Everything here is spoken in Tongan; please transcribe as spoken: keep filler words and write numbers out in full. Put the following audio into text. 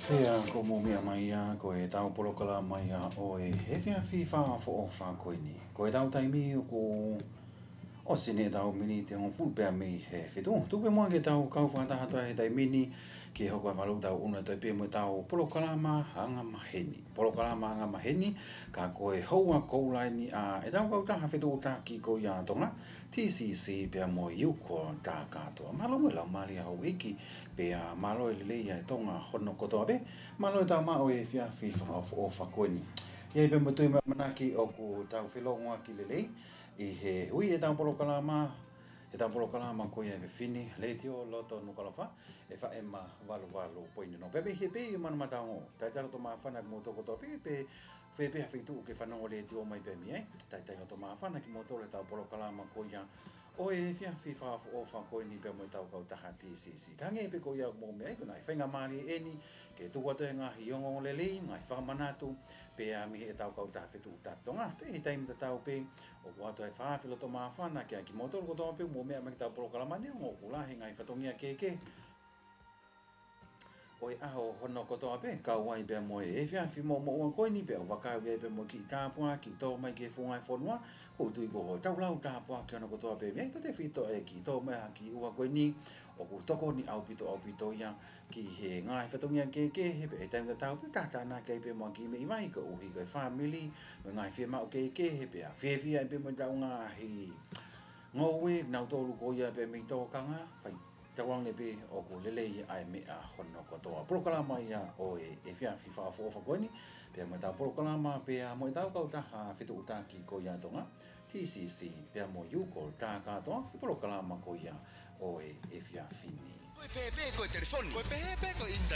Pea ko e meʻa mai ia, ko ʻetau polokalama ia ʻo e efiafi fakaʻofoʻofa ko eni. Ko ʻetau taimi ʻoku ʻosi eni ʻetau miniti hongofulu pea mei he fitu. Tuku pē muʻa ke tau kau fakataha atu he taimi ni ke hoko ʻa e valu tau ʻunu atu pē mo ʻetau polokalama angamaheni. Polokalama angamaheni, ka ko e houa koula eni ʻa ʻetau kautaha fetuʻutaki ko ia ʻa Tonga, T C C pea mo e U Call Takatoa. Mālō mo e laumālie ʻa houʻeiki, pea mālō e lelei ʻa e Tonga hono kotoa pē, mālō e tau maʻu e efiafi fakaʻofoʻofa ko eni. ʻI ai pē mo e tui mo e ʻamanaki ʻoku tau felōngoaki lelei ʻi he ui ʻetau polokalama, ʻetau polokalama ko ia ʻa e efiafi ni, Letiō Loto Nukuʻalofa, F M valu valu poini ono. Pea mei he pē ʻi Manumataongo, talitali loto māfana kimoutolu kotoa pē, pe ko fē pē ha feituʻu ʻoku ke fanongo letiō mai pē mei ai, talitali loto māfana kimoutolu ʻetau polokalama ko ia ʻo e efiafi fakaʻofoʻofa ko eni pea mo ʻetau kautaha T C C. Ka hangē pē ko ia ʻoku mou meaʻi, ko e ngaahi faingamālie eni ke tuku atu e ngaahi ongoongolelei, ngaahi fakamanatu, pea mei heʻetau kautaha fetuʻutaki Tonga. Pea ʻi he taimi tatau pē, ʻoku ʻoatu e fakaafe loto māfana kiate kimoutolu kotoa pē ʻoku mou meʻa mai ki heʻetau polokalama ni, ʻoku lahi e ngaahi fatongia kehekehe ʻo e ʻaho hono kotoa pē, kau ai pea mo e efiafi moʻomoʻua ko eni, pea ʻoku vakai ai pea mo e kiʻi tāpuaki ʻoku tō mai ki he funga ʻo e fonua. ʻOku ou tui ko hotau lau tāpuaki hono kotoa pē mei ai, tautefito e kiʻi tō mai ha kiʻi ua ko eni, ʻoku tokoni ʻaupito, ʻaupito ia ki he ngaahi fatongia kehekehe, pea ʻi he taimi tatau pē tātānaki ai pea mo e kiʻi meʻi vai koeʻuhi ko e fāmili, mo e ngaahi fiemaʻu kehekehe, pea fiefia ai pea mo ʻetau ngaahi ngoue, nautolu ko ia pē mei tōkanga, fai tauange pē ʻoku lelei ʻa e meʻa hono kotoa. Polokalama ia ʻo e efiafi fakaʻofoʻofa ko eni, pea mo ʻetau polokalama, pea mo ʻetau kautaha fetuʻutaki ko ia ʻa Tonga, T C C, pea mo e U Call Takatoa, he polokalama ko ia ʻo e efiafi ni. Ko e pehē pē ko e telefoni. Ko e pehē pē ko e